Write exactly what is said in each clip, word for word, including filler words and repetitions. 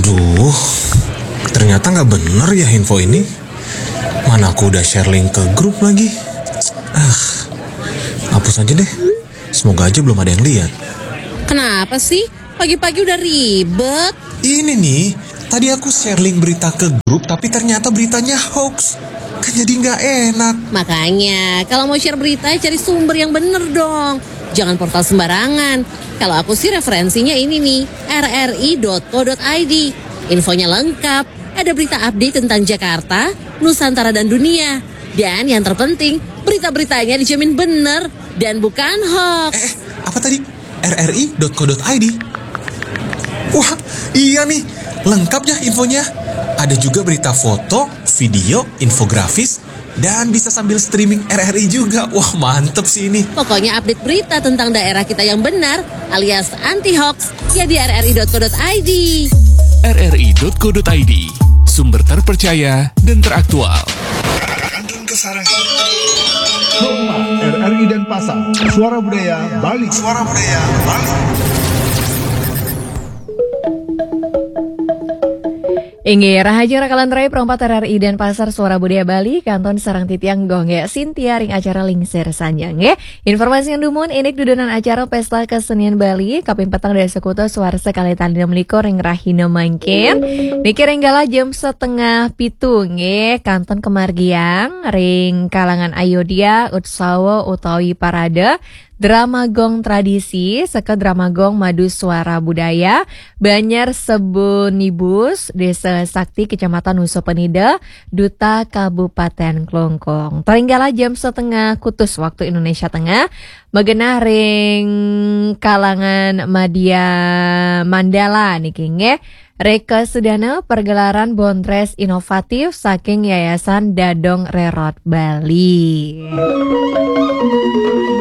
Duh, ternyata nggak bener ya info ini. Mana aku udah share link ke grup lagi. Ah, hapus aja deh. Semoga aja belum ada yang lihat. Kenapa sih? Pagi-pagi udah ribet. Ini nih, tadi aku share link berita ke grup, tapi ternyata beritanya hoax. Kan jadi nggak enak. Makanya, kalau mau share berita, cari sumber yang bener dong. Jangan portal sembarangan. Kalau aku sih referensinya ini nih, rri.co.id. Infonya lengkap, ada berita update tentang Jakarta, Nusantara dan dunia. Dan yang terpenting, berita-beritanya dijamin bener dan bukan hoax. Eh, apa tadi? rri.co.id. Wah, iya nih, lengkap ya infonya. Ada juga berita foto, video, infografis, dan bisa sambil streaming RRI juga. Wah, mantep sih ini. Pokoknya update berita tentang daerah kita yang benar alias anti hoax ya di rri.co.id. rri.co.id, sumber terpercaya dan teraktual. Roma, RRI Denpasar, Suara Budaya Bali. Suara Budaya Bali. Inggih, rahajeng rakalan rai perempat RRI Denpasar, Suara Budaya Bali, kantun sareng titiang Gong ya Sintia ring acara Lingsir Sanjang ya. Informasi yang dumun, indik dudunan acara Pesta Kesenian Bali kaping petang dasa kutus warsa kalih tali enam likur ring rahina mangkin. Niki ring galah jam setengah pitu nggih, kantun kemargiang ring kalangan Ayodhya, Utsawa utawi Parade, Drama Gong Tradisi saka Drama Gong Madu Suara Budaya, Banjar Sebunibus, Desa Sakti, Kecamatan Nusa Penida, Duta Kabupaten Klungkung. Tari ring galah jam setengah kutus waktu Indonesia Tengah, magenah ring kalangan Madya Mandala niki nggih. Reka sedana pergelaran bondres inovatif saking Yayasan Dadong Rerod Bali.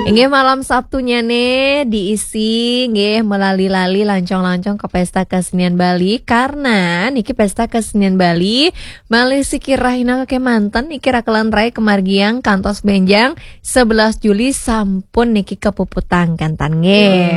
Inggih, malam Sabtunya nih diisi nggih melali-lali lancong-lancong ke Pesta Kesenian Bali, karena niki Pesta Kesenian Bali malih siki rahina kemanten niki rakalan rai kemargiang kantos benjang sebelas Juli sampun niki kepuputang kanten nggih.